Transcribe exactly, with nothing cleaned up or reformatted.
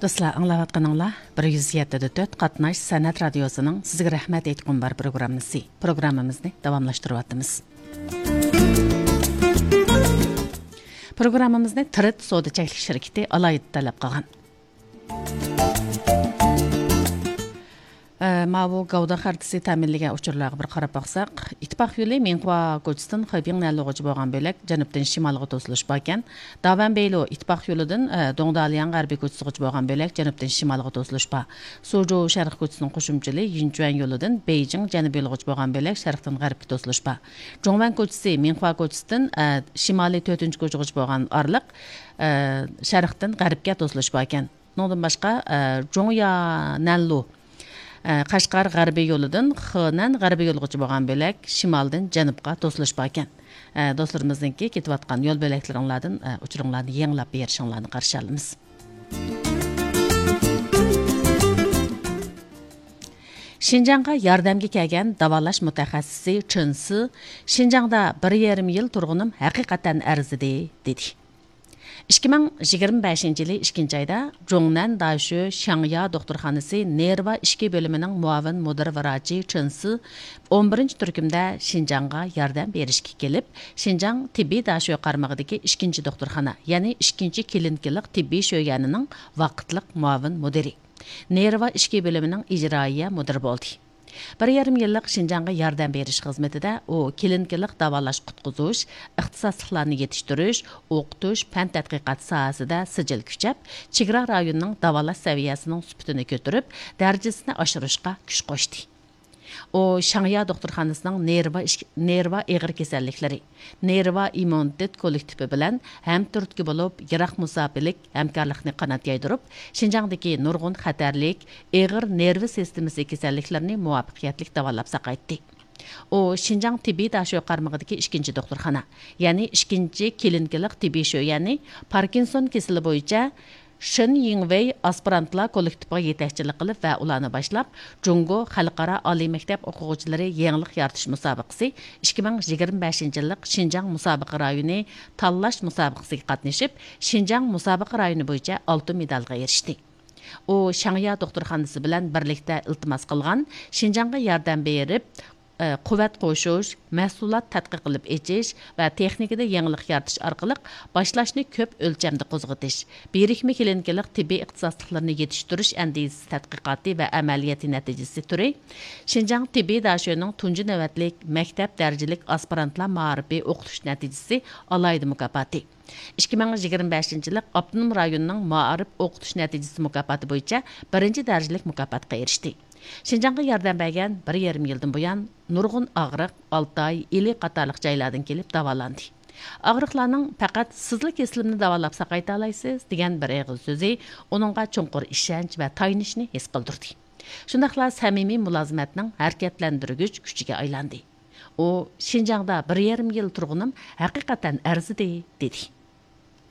دوستلار، ئاڭلاۋاتقىنىڭلار بىر يۈز يەتتە دە تۆت قاتناش سەنئەت رادىيوسىنىڭ سىزگە رەھمەت ئېيتقۇم بار پروگراممىسى. پروگراممىمىزنى داۋاملاشتۇرۇۋاتىمىز. پروگراممىمىزنى تىرىت سودا چەكلىك شىركىتى ئالاھىدە تەلەپ قىلغان. ئە، ماۋۇ گەۋدە خەرىتىسى تەمىنلىگەن ئۇچۇرلارغا بىر قاراپ باقساق، ئىتتىپاق يولى مىڭخۇا كوچىسىدىن خېبىڭ نەنلۇغىچە بولغان بۆلەك جەنۇبتىن شىمالغا توسۇلۇش باركەن. داۋەن بېيلۇ ئىتتىپاق يولىدىن، ئە، دۇڭدالياڭ غەربىي كوچىسىغىچە بولغان بۆلەك جەنۇبتىن شىمالغا توسۇلۇش بار. سۇجۇ شەرق كوچىسىنىڭ قوشۇمچىلى يىنچۈەن يولىدىن بېيجىڭ جەنۇب يولىغىچە بولغان بۆلەك شەرقتىن غەربكە توسۇلۇش بار. جۇڭۋەن كوچىسى مىڭخۇا كوچىسىدىن، ئە، شىمالىي تۆتىنچى كوچىغىچە بولغان ئارىلىق، ئە، شەرقتىن غەربكە توسۇلۇش باركەن. ئۇنىڭدىن باشقا، ئە، جۇڭيا نەنلۇ، ئە، قەشقەر غەربىي يولىدىن خېنەن غەربىي يولىغىچە بولغان بۆلەك شىمالدىن جەنۇبقا توسۇلۇش باركەن. ئە، دوستلىرىمىزنىڭكى كېتىۋاتقان يول بۆلەكلىرىڭلاردىن، ئە، ئۇچۇرۇڭلارنى يېڭىلاپ بېرىشىڭلارنى قارشى ئالىمىز. شىنجاڭغا ياردەمگە كەلگەن داۋالاش مۇتەخەسسىسى چېن سى، شىنجاڭدا بىر يېرىم يىل تۇرغىنىم ھەقىقەتەن ئەرزىدى، دېدى. ئىككى مىڭ يىگىرمە بەشىنچى يىلى ئىككىنچى ئايدا جۇڭنەن داشۆ شياڭيا دوختۇرخانىسى نېرۋا ئىچكى بۆلۈمىنىڭ مۇئاۋىن مۇدىر ۋراچى چېن سى ئون بىرىنچى تۈركۈمدە شىنجاڭغا ياردەم بېرىشكە كېلىپ، شىنجاڭ تېببىي داشۆ قارمىقىدىكى ئىككىنچى دوختۇرخانا، يەنى ئىككىنچى كلىنىكىلىق تېببىي شۆيەنىنىڭ ۋاقىتلىق مۇئاۋىن مۇدىرى، نېرۋا ئىچكى بۆلۈمىنىڭ ئىجرائىيە مۇدىرى بولدى. بىر يېرىم يىللىق شىنجاڭغا ياردەم بېرىش خىزمىتىدە ئۇ كلىنىكىلىق داۋالاش قۇتقۇزۇش، ئىختىساسلىقلارنى يېتىشتۈرۈش، ئوقۇتۇش، پەن تەتقىقات ساھەسىدە سىجىل كۈچەپ، چېگرا رايونىنىڭ داۋالاش سەۋىيەسىنىڭ سۈپىتىنى كۆتۈرۈپ، دەرىجىسىنى ئاشۇرۇشقا كۈچ قوشتى. ئۇ شياڭيا دوختۇرخانىسىنىڭ نېرۋا ئىچ-، نېرۋا ئېغىر كېسەللىكلىرى، نېرۋا ئىممۇنىتېت كوللېكتىپى بىلەن ھەمتۈرتكە بولۇپ، يىراق مۇساپىلىك ھەمكارلىقنى قانات يايدۇرۇپ، شىنجاڭدىكى نۇرغۇن خەتەرلىك، ئېغىر نېرۋا سىستېمىسى كېسەللىكلىرىنى مۇۋەپپەقىيەتلىك داۋالاپ ساقايتتى. ئۇ شىنجاڭ تېببىي داشۆ قارمىقىدىكى ئىككىنچى دوختۇرخانا، يەنى ئىككىنچى كلىنىكىلىق تېببىي شۆيەنى پاركىنسون كېسىلى بويىچە شېن يىڭۋېي ئاسپىرانتلار كوللېكتىپىغا يېتەكچىلىك قىلىپ ۋە ئۇلارنى باشلاپ، جۇڭگو خەلقئارا ئالىي مەكتەپ ئوقۇغۇچىلىرى يېڭىلىق يارىتىش مۇسابىقىسى ئىككى مىڭ يىگىرمە بەشىنچى يىللىق شىنجاڭ مۇسابىقە رايونى تاللاش مۇسابىقىسىگە قاتنىشىپ، شىنجاڭ مۇسابىقە رايونى بويىچە ئالتۇن مېدالغا ئېرىشتى. ئۇ شياڭيا دوختۇرخانىسى بىلەن بىرلىكتە ئىلتىماس قىلغان شىنجاڭغا ياردەم بېرىپ، ئە، قۇۋۋەت قوشۇش، مەھسۇلات تەتقىق قىلىپ ئېچىش ۋە تېخنىكىدا يېڭىلىق يارىتىش ئارقىلىق باشلاشنى كۆپ ئۆلچەمدە قوزغىتىش، بىرىكمە كلىنىكىلىق تېببىي ئىختىساسلىقلىرىنى يېتىشتۈرۈش ئەندىزىسى تەتقىقاتى ۋە ئەمەلىيىتى نەتىجىسى تۈرى شىنجاڭ تېببىي داشۆنىڭ تۇنجى نۆۋەتلىك مەكتەپ دەرىجىلىك ئاسپىرانتلار مائارىپى ئوقۇتۇش نەتىجىسى ئالاھىدە مۇكاپاتى، ئىككى مىڭ يىگىرمە بەشىنچى يىللىق ئاپتونوم رايوننىڭ مائارىپ ئوقۇتۇش نەتىجىسى مۇكاپاتى بويىچە بىرىنچى دەرىجىلىك مۇكاپاتقا ئېرىشتى. شىنجاڭغا ياردەم بەرگەن بىر يېرىم يىلدىن بۇيان نۇرغۇن ئاغرىق ئالتاي، ئىلى قاتارلىق جايلاردىن كېلىپ داۋالاندى. ئاغرىقلارنىڭ پەقەت سىزلا كېسىلىمنى داۋالاپ ساقايتالايسىز دېگەن بىر ئېغىز سۆزى ئۇنىڭغا چوڭقۇر ئىشەنچ ۋە تايىنىشنى ھېس قىلدۇردى. شۇنداقلا سەمىمىي مۇلازىمەتنىڭ ھەرىكەتلەندۈرگۈچ كۈچىگە ئايلاندى. ئۇ شىنجاڭدا بىر يېرىم يىل تۇرغىنىم ھەقىقەتەن ئەرزىدى، دېدى.